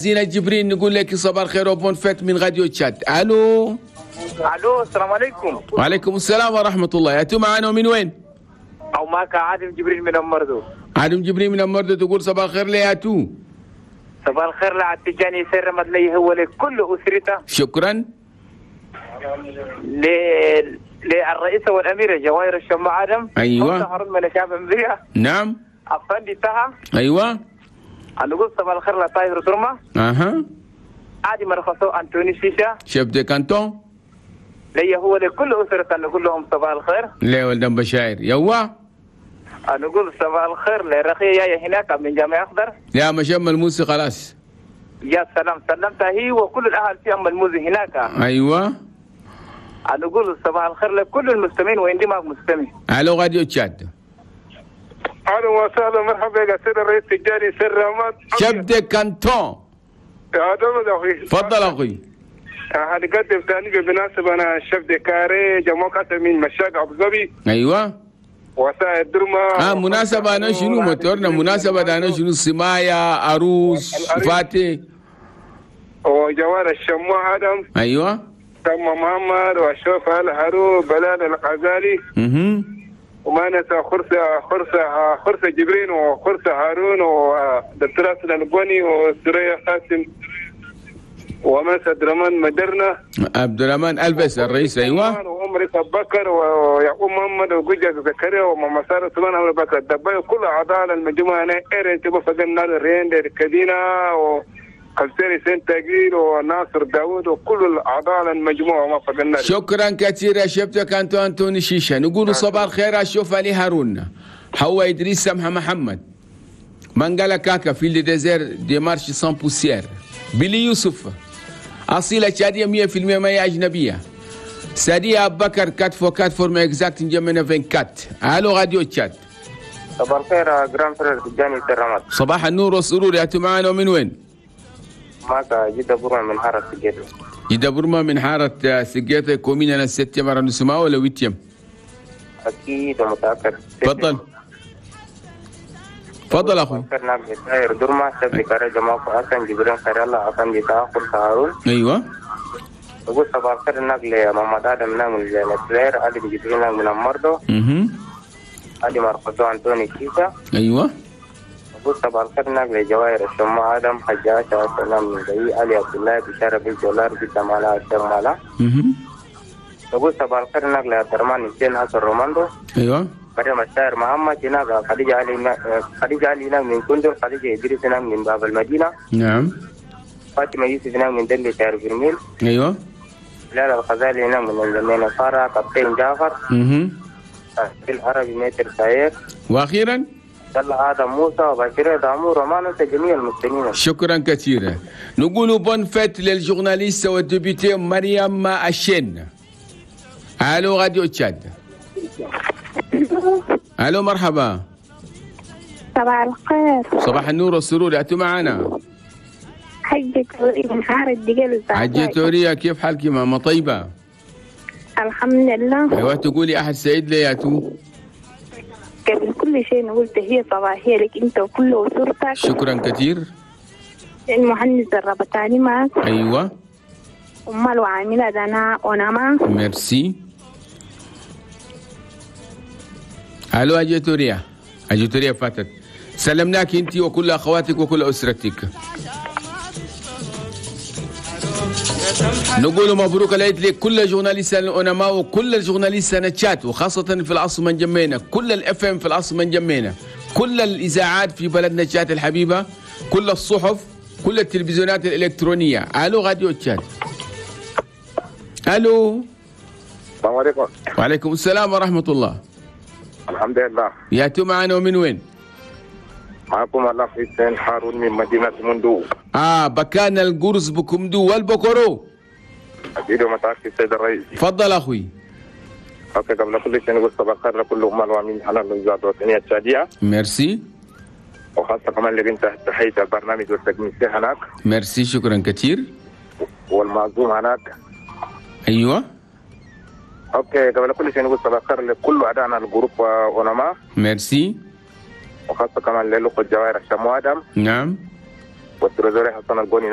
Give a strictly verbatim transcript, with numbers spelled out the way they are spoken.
زينة جبرين نقول لك صباح الخير و bonne fête من راديو تشاد. الو. الو، السلام عليكم. وعليكم السلام ورحمة الله. يا معنا من وين؟ او معك عادل جبريل من أمردو. عادل جبريل من أمردو، تقول صباح الخير لياتو. صباح الخير لعتجاني سر مدلي هو لكل اسرته. شكرا. ل... للرئيسة والأميرة جواهر الشمع آدم. أيوة. هارون من شعب أمريكا. نعم. أفندي تها. أيوة. نقول صباح الخير لطاهر ترمة. أها. عادي مرخصو أنتوني شيشة. chef de canton. لي هو لكل أسرة نقول لهم صباح الخير. ليه ولدن بشاير يوا. نقول صباح الخير لرخية يا هناك من جامع أخضر. يا مشم الموسي خلاص. يا سلام، سلمتها هي وكل الأهل في أم الموزي هناك. أيوة. نقول صباح الخير لكل المستمعين وين معك مستمع. الو راديو تشاد. اهلا وسهلا، مرحبا يا سيد الرئيس التجاري سر رماد chef de canton. يا دولة اخوي. تفضل اخوي. هنقدم ثاني بالمناسبة انا ال chef de carré جماعة من مشاق ابو ظبي. ايوه. وسائل درما. اه مناسبة انا شنو موتورنا مناسبة انا شنو سمايا عروس فاتي وجوار الشموع ادم. ايوه. تم محمد وشوف الهارو بلال الغزالي. اها. وما ننسى خرسة خرسة خرسة جبرين وخرسة هارون ودكتور حسن البني وسرية قاسم وما ننسى عبد الرحمن مدرنا عبد الرحمن البس الرئيس. ايوه. وعمر بكر ويعقوب محمد وجوجة زكريا وماما ساره سليمان عمرو بكر الدبي وكل اعضاء المجموعة انا ايرن تبو فقنا الرين الكدينه و خلسيري سنتاجيل وناصر داوود وكل الاعضاء المجموعة ما فقنا. شكرا كثير يا شفتك انتو انتوني شيشة. نقول صباح الخير اشوف علي هارون حوا ادريس سمحه محمد منقلا كاكا في le désert de marche sans poussière بلي يوسف اصيلة تشاديه مية بالمية ما هي اجنبية سادية ابو بكر quatre fois quatre forme exacte نجمنا أربعة وعشرين. الو راديو تشاد. صباح الخير grand frère تجاني سرمات. صباح النور والسرور. يا معانا من وين؟ معك جدة برما من حارة سجيتة. جدة برما من حارة سجيتة commune أنا septième arrondissement ولا huitième؟ أكيد ومتأكد. تفضل. تفضل أخوي. طاهر درما chef de carré جماعة حسن جبرين خير الله أفندي تاخر هارون. أيوه. أقول صباح الخير نقل محمد آدم نعم الزهير علي جبرين من المرضو. اها. علي مرقدو أنتوني كيسا. أيوه. صباح الخير نقل جواهر الشمع آدم حجاج سلام من زي علي عبد الله بشارة بالجولار بالجمالة الشمالة. أقول صباح الخير نقل عبد الرحمن حسين حسن روماندو. أيوه. مريم الشاعر محمد هناك خديجة علي خديجة علي هناك من كندر خديجة إدريس هناك من باب المدينة. نعم. فاطمة يوسف هناك من دلي شاعر برميل. أيوه. بلال الغزالي هناك من الجنين فارا كابتن جعفر. اها. العربي متر ساير. وأخيرا الله آدم موسى وبشير دامور وما ننسى جميع المسلمين. شكرا كثيرا. نقول bonne fête لل journaliste وال députée مريم أشين. الو راديو تشاد. الو مرحبا. صباح الخير. صباح النور والسرور. يا معنا حجة تورية من حارة دقل. حجة تورية، كيف حالك ماما؟ طيبة الحمد لله. ايوه تقولي احد سعيد لياتو. قبل كل شيء نقول تحية صباحية لك أنت وكل أسرتك. شكرا كثير. المهندس الربطاني معك. أيوة. أمال وعاملة دنا ونما. ميرسي. ألو أجيتوريا. أجيتوريا فاتت. سلمناك أنت وكل أخواتك وكل أسرتك. نقول مبروك العيد لكل journalistes الأونما وكل ال journalistes تشات، وخاصة في العاصمة نجمينا، كل ال FM في العاصمة نجمينا، كل الإذاعات في بلدنا تشات الحبيبة، كل الصحف، كل التلفزيونات الإلكترونية. ألو راديو تشات. ألو. السلام عليكم. وعليكم السلام ورحمة الله. الحمد لله. يا معنا ومن وين؟ معكم الله حسين هارون من مدينة مندو. آه بكان القرص بكمدو والبكرو. أكيد ومتأكد سيد الرئيس. تفضل أخوي. okay قبل كل شيء نقول صباح الخير لكل أمال وأمين على الإذاعة الوطنية التشادية. ميرسي. وخاصة كمان اللي بنت تحية البرنامج والتكنيسية هناك. ميرسي شكرا كثير. والمعزوم هناك. أيوه. okay قبل كل شيء نقول صباح الخير لكل أعدائنا ال groupe أونما. ميرسي. وخاصة كمان للأخوة الجوائر الشمو آدم. نعم. وال trésorier حسن القوني.